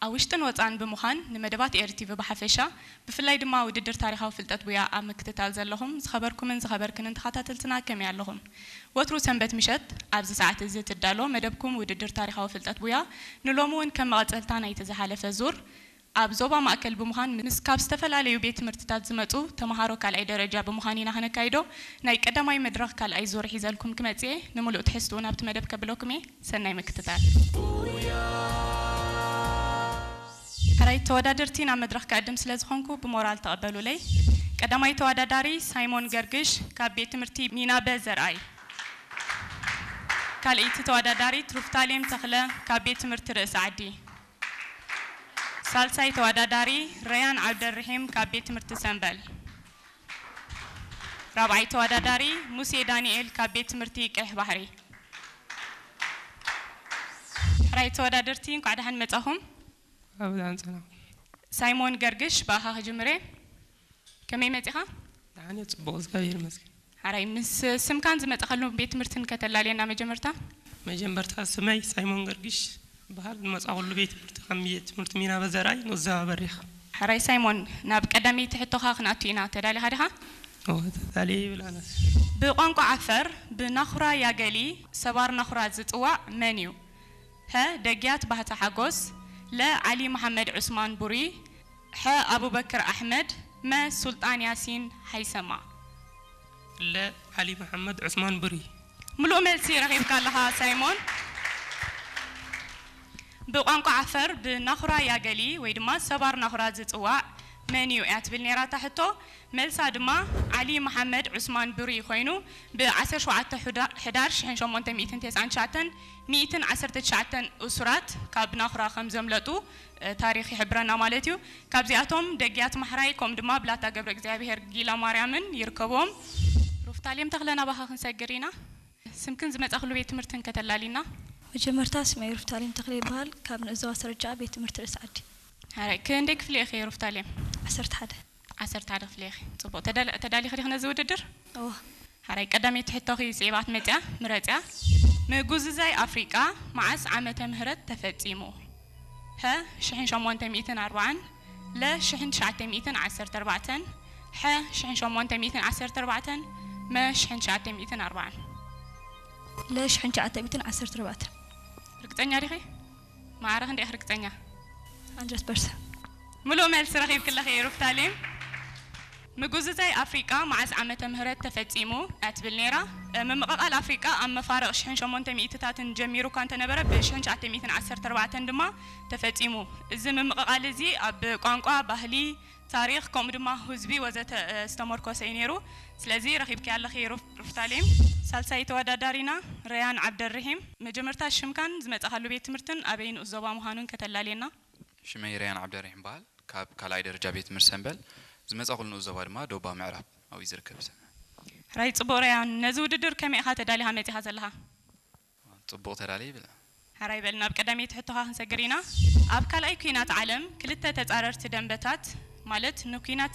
ኣብ ውሽጥን ወጻእን ብምዃን ንመደባት ኤሪ ቲቪ ብሓፈሻ፣ ብፍላይ ድማ ውድድር ታሪኻዊ ፍልጠት ቡያ ኣብ ምክትታል ዘለኹም ዝኸበርኩምን ዝኸበርክንን ተኸታተልትና ከመይ ኣለኹም? ወትሩ ሰንበት ምሸት ኣብዚ ሰዓት እዚ ትዳሎ መደብኩም ውድድር ታሪኻዊ ፍልጠት ቡያ ንሎሚ እውን ከም መቐጸልታ ናይቲ ዝሓለፈ ዙር ኣብ ዞባ ማእከል ብምዃን ምስ ካብ ዝተፈላለዩ ቤት ትምህርትታት ዝመጹ ተምሃሮ ካልኣይ ደረጃ ብምዃን ኢና ክነካይዶ። ናይ ቀዳማይ መድረኽ ካልኣይ ዙር ሒዘልኩም ክመጽእ እየ። ንምሉእ ትሕዝትኡ ናብቲ መደብ ከብለኩም እየ። ሰናይ ምክትታል። ሕራይ ተወዳደርቲ ናብ መድረኽ ክዕድም ስለ ዝኾንኩ ብሞራል ተቐበሉለይ። ቀዳማይ ተወዳዳሪ ሳይሞን ገርግሽ ካብ ቤት ትምህርቲ ሚናበ ዘርኣይ። ካልኣይቲ ተወዳዳሪት ሩፍታሌም ተኽለ ካብ ቤት ትምህርቲ ርእሲ ዓዲ። ሳልሳይ ተወዳዳሪ ረያን ዓብደርሒም ካብ ቤት ትምህርቲ ሰምበል። ራብዓይ ተወዳዳሪ ሙሴ ዳንኤል ካብ ቤት ትምህርቲ ቀይሕ ባሕሪ። ሕራይ ተወዳደርቲ እንኳዕ ደሓን መጻኹም። ኣብ ዛንጸና ሳይሞን ገርግሽ ብኣኻ ክጅምር እየ። ከመይ መጺኻ? ደሓን እየ፣ ጽቡቕ፣ እግዚኣብሔር ይመስገን። ሕራይ ምስ ስምካን ዝመጻኻሉ ቤት ትምህርትን ከተላልየና መጀመርታ። መጀመርታ ስመይ ሳይሞን ገርግሽ በሃል። ዝመጻኹሉ ቤት ትምህርቲ ከም ቤት ትምህርቲ ሚናበ ዘርኣይ ንኡስ ዞባ በሪኽ። ሕራይ ሳይሞን፣ ናብ ቀዳመይቲ ሕቶኻ ክንኣቱ ኢና። ተዳሊኻ ዲኻ? እወ፣ ተዳልየ ይብል ኣነስ። ብቋንቋ ዓፈር ብናኹራ ያገሊ ሰባር ናኹራ ዝጽዋዕ መን እዩ? ሀ፣ ደግያት ባህታ ሓጎስ፣ ለ፣ ዓሊ መሓመድ ዑስማን ቡሪ፣ ሐ፣ ኣቡበክር ኣሕመድ፣ መ፣ ሱልጣን ያሲን ሃይሰማ። ለ፣ ዓሊ መሓመድ ዑስማን ቡሪ። ምሉእ መልሲ ረኺብካ ኣለኻ ሳይሞን። ብቋንቋ ዓፈር ብናኹራ ያገሊ ወይ ድማ ሰባር ናኹራ ዝጽዋዕ መን እዩ እያ ትብል ነይራ እታ ሕቶ። መልሳ ድማ ዓሊ መሓመድ ዑስማን ቡሪ ኮይኑ፣ ብ ዓሰርተ ሸውዓተ ሕዳ-፣ ሕዳር ሽሕን ሸሞንተ ሚእትን ተስዓን ትሽዓተን ሚእትን ዓሰርተ ትሽዓተን እሱራት ካብ ናኹራ ከም ዘምለጡ፣ እ፣ ታሪኽ ይሕብረና ማለት እዩ። ካብዚኣቶም ደግያት ማሕራይ ከምኡ ድማ ብላታ ገብረ እግዚኣብሔር ጊላ ማርያምን ይርከብዎም። ሩፍታሌም ተኽለ ናባኻ ክንሰግር ኢና። ስምክን ዝመጻኽሉ ቤት ትምህርትን ከተላሊና። መጀመርታ ስመይ ሩፍታሌም ተኽለ ይበሃል። ካብ ንኡስ ዞባ ሰረጃ ቤት ትምህርቲ ርእሲ ዓዲ። ሕራይ፣ ክንደይ ክፍሊ ኢኺ ሩፍታሌም? ዓሰርተ ሓደ። ዓሰርተ ሓደ ክፍሊ ኢኺ። ጽቡቕ። ተዳል-፣ ተዳሊኺ ዲኺ ነዚ ውድድር? እወ። ሕራይ፣ ቀዳመይቲ ሕቶኺ ስዒባት መጽያ፣ ምረጽያ። ምጉዝዛይ ኣፍሪቃ መዓስ ዓመተ ምህረት ተፈጺሙ? ሀ፣ ሽሕን ሸሞንተ ሚእትን ኣርባዓን፣ ለ፣ ሽሕን ትሽዓተ ሚእትን ዓሰርተ ኣርባዕተን፣ ሐ፣ ሽሕን ሸሞንተ ሚእትን ዓሰርተ ኣርባዕተን፣ መ፣ ሽሕን ትሽዓተ ሚእትን ኣርባዓን። ለ፣ ሽሕን ትሽዓተ ሚእትን ዓሰርተ ኣርባዕተን። ርግጸኛ ዲኺ? ማዕረ ክንደይ ኢኺ ርግጸኛ? ሃንድረድ ፐርሰንት። ምሉእ መልሲ ረኺብክለኺ ሩፍታሌም። ምጉዝዛይ ኣፍሪቃ መዓስ ዓመተ ምህረት ተፈጺሙ እያ ትብል ነይራ። እ፣ ምምቕቓል ኣፍሪቃ ኣብ መፋርቕ ሽሕን ሸሞንተ ሚእትታትን ጀሚሩ እኳ እንተነበረ፣ ብ ሽሕን ትሽዓተ ሚእትን ዓሰርተ ኣርባዕተን ድማ ተፈጺሙ። እዚ ምምቕቓል እዚ ኣብ ቋንቋ፣ ባህሊ፣ ታሪኽ፣ ከምኡ ድማ ህዝቢ ወዘተ፣ እ፣ ዝተመርኮሰ እዩ ነይሩ። ስለዚ ረኺብኪ ኣለኺ ሩፍ-፣ ሩፍታሌም። ሳልሳይ ተወዳዳሪና ረያን ዓብደርሒም። መጀመርታ ሽምካን ዝመጻኻሉ ቤት ትምህርትን ኣበይ ንኡስ ዞባ ምዃኑን ከተላልየና። ሽመይ ረያን ዓብደርሒም በሃል። ካብ ካልኣይ ደረጃ ቤት ትምህርቲ ሰምበል ዝመጻኹሉ ንኡስ ዞባ ድማ ዶባ ምዕራብ ኣብኡ ዝርከብ ሰብ። ሕራይ ጽቡቕ ረያን፣ ነዚ ውድድር ከመይ ኢኻ ተዳሊኻ መጺኻ ዘለኻ? ጽቡቕ ተዳልየ ይብል። ሕራይ በል፣ ናብ ቀዳመይቲ ሕቶኻ ክንሰግር ኢና። ኣብ ካልኣይ ኲናት ዓለም ክልተ ተጻረርቲ ደንበታት፣ ማለት ንኲናት